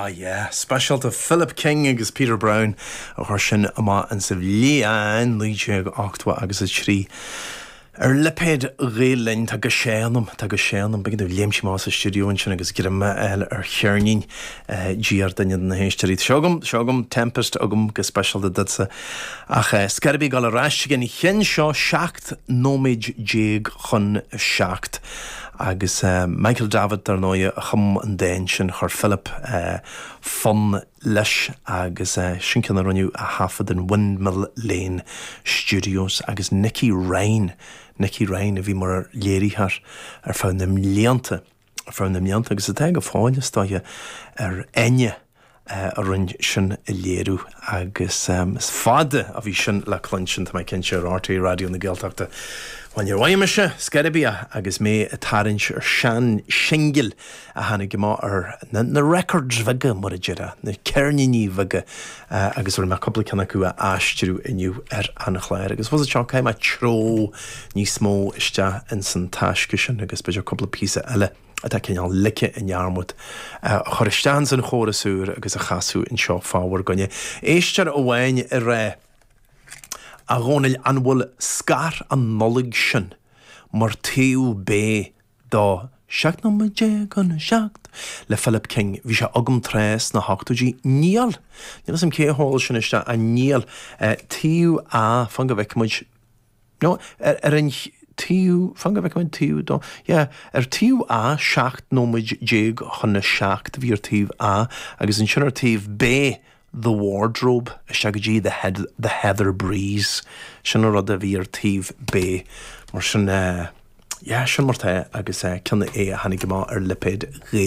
Ah yeah, speisialta Philip King agus Peter Brown a chuir sin amach insa bhliain 1980 agus 3. Ar lipéad Ghael Linn, tá go séanaim, tá go séanaim, b'éigean domh léimt amach as an stiúideo ansin agus greim a fháil ar cheirnín diar duine de na héisteoirí. Tá seo agam, seo agam, Tempest agam go speisialta duitse. Ach scor ar bith ag dul ar ais ag an cheann seo, 17 nóiméad chun a 7. Agus Michael Davitt, dar ndóigh, a chum an dán sin, chuir Philip fonn leis agus sin ceann a rinneadh a thaifead in Windmill Lane Studios agus Nicky Ryan, Nicky Ryan a bhí mar léiritheoir ar feadh na mblianta, ar feadh na mblianta agus atá go fóill is dóiche ar Enya. a rinne sin a léiriú agus is fada a bhí sin le cluinstin, tá mé cinnte, ar RTÉ Raidió na Gaeltachta. Bhuel, níor mhaith mise, scor ar bith, agus mé ag tarraingt ar sean singil a tháinig amach ar na records bheaga, mar a déarfá, na ceirníní bheaga, agus rinne mé cúpla ceann acu a aistriú inniu ar an chlár. Agus fós anseo, caithfidh mé treo níos mó isteach ins an taisce sin agus b'fhéidir cúpla píosa eile. atá cineál ligthe i ndearmad, a chur isteach ins an chóras úr agus a chasadh anseo fá bhur gcoinne. Éisteoir amháin ag rá, A Dhónaill, an bhfuil Scar an Nollaig sin mar taobh B do 17 nóiméad chun a 7 le Philip King? Bhí sé agam tráth sna hochtóidí. Níl! Níl 'fhios a'm cé a sheol sin isteach ach níl. Taobh A, fan go bhfeicfidh muid. No, ar an taobh, fan go bhfeicfidh muid, taobh dó, yeah, ar taobh A, 17 nóiméad chun a 7 bhí ar taobh A, agus ansin ar taobh B, The Wardrobe, isteach go dtí The Head, The Heather Breeze, sin an rud a bhí ar taobh B. Mar sin, yeah, sin mar tá, agus ceann é a tháinig amach ar lipéad Ghael.